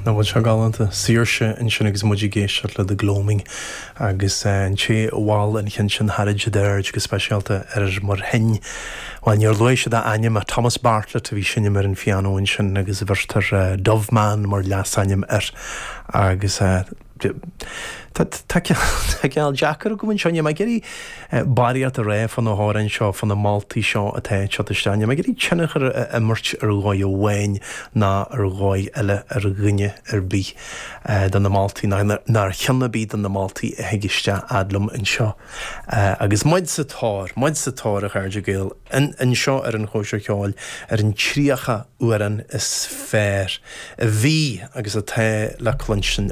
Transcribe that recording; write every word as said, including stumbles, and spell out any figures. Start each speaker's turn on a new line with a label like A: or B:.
A: Nach bhfuil sé galánta saoirse ansin agus muid ag éisteacht le The Gloaming agus an té a mhol an ceann sin tharraing siad aird go speisialta ar mar shin. Well níor luaigh siad a ainm Thomas Bartlett a bhí ag seinm ar an phianó ansin agus bheirtear Doveman mar leasainm air agus Tá ceal deacair go bhfuil seo mar géirí barraíocht a rá fá na hamhráin seo fá na moltaí seo atá teacht isteach, mar géirí tionchar a imirt ar dhóigh amháin ná ar dhóigh eile ar dhuine ar bith de na moltaí ná ar cheann ar bith de na moltaí a thig isteach agam anseo. Agus muid sa tóir, muid sa tóir a chairde Gael anseo ar an Chóisir Cheoil ar an tríocha amhrán is fearr a bhí agus atá le cluinstin